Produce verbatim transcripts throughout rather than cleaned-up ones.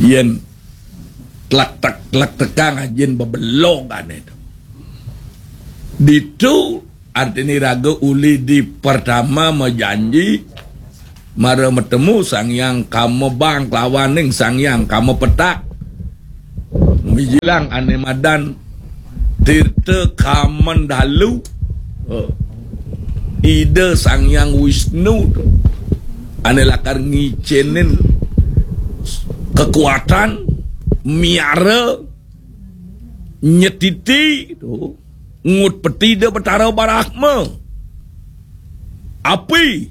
Yén tlek-tek, tlek-tekang ajin bebelog ané to. Ditu artiné raga uli di pertama majanji mara matemu Sang Hyang Kama Bang kelawaning Sang Hyang Kama Petak. Mijilang ané madan Tirta Kamandalu. Oh. Ida Sang Hyang Wisnu to. Ané lakar ngicénin kekuatan, miara, nyetiti to. Ngut peti Ida Betara Brahma. Api,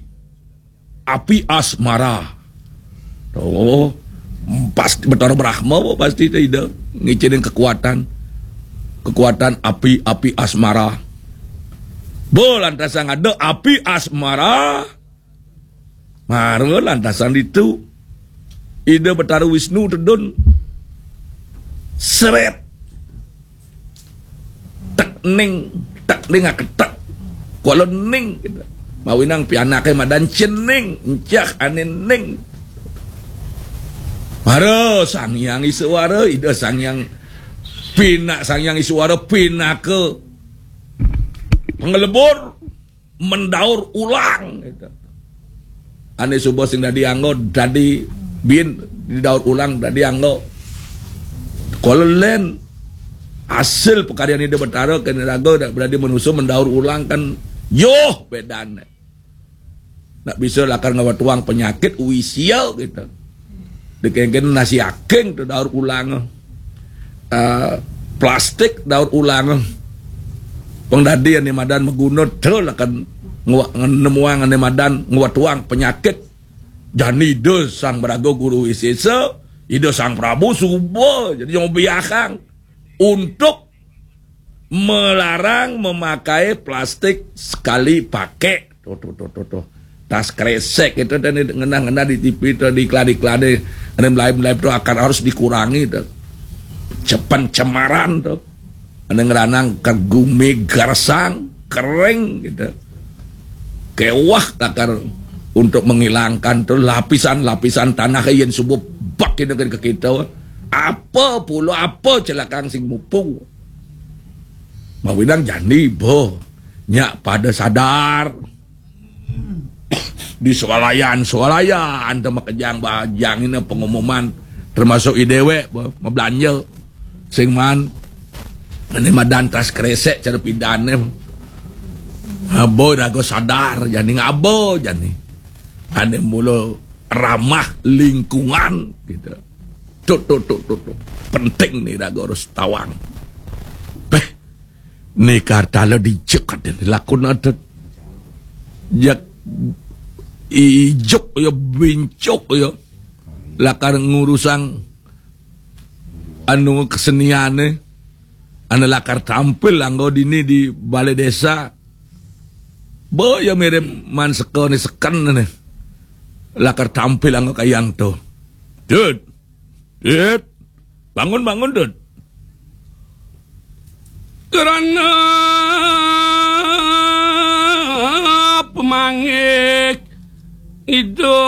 api asmara. Oh, pasti Betara Brahma pasti Ida ngicénin kekuatan. Kekuatan api, api asmara. Bo lantasan ada api asmara. Mara lantasan ditu Ida Betara Wisnu tedun. Seret. Tek ning, tek ning aketek. Kuala ning gitu. Mawinang pianaké madan cening, encah ané ning. Mara Sang Hyang Iswara, Ida Sang Hyang pina-, Sang Hyang Iswara pinaka pengelebur mendaur ulang gitu. Ané suba sing dadi angga, dadi bin didaur ulang, dadi angga. Kalau lén hasil pekaryan Ida Betara kena raga dak beradi manusia mendaur ulang kan yoh bedane. Nak bisa lakar ngawatuang penyakit uisia gitu. Dikengken nasi aking tu daur ulang. Eh, plastik daur ulang. Pang dadi ané madan maguna tu lakar ngwa-, nemuang ané madan ngawatuang penyakit. Jani Ida Sang Braga Guru Wisesa, Ida Sang Prabu suba jadi yang biakang untuk melarang memakai plastik sekali pakai. Tuh, tuh, tuh, tuh, tuh. Tas kresek itu dan ngenah-ngenah di T V itu, di iklan-iklan, ada mulai-mulai itu akan harus dikurangi tuh. Cepen cemaran tuh. Ada ngeranang ke gumi gersang, kering gitu. Kewah takar untuk menghilangkan tuh lapisan-lapisan tanah yang subuh bak itu ke kita. Apa pula, apa celakang sing mupung? Mawinang jani boh. Nyak pada sadar. Di swalayan-swalayan tu makejang bajang ini pengumuman, termasuk i dewek boh, mabelanja. Sing man, ini madan tas kresek cara pidane. Abo raga sadar jani ngabo jani. Ane mula ramah lingkungan gitu. Tuh, tuh, tuh, tuh, tuh. Penting nih raga harus tawang. Beh, ni kartala dijek ada lakun ada. Jak ijuk ya bincuk ya. Lakar ngurusang anu keseniane. Anu lakar tampil anggo dini di balai desa. Bo ya mirip man seka ni seken ni. Lakar tampil anggo kayang tu. Dud. Dud. Bangun, bangun, Dud. Kerana pemangik Ida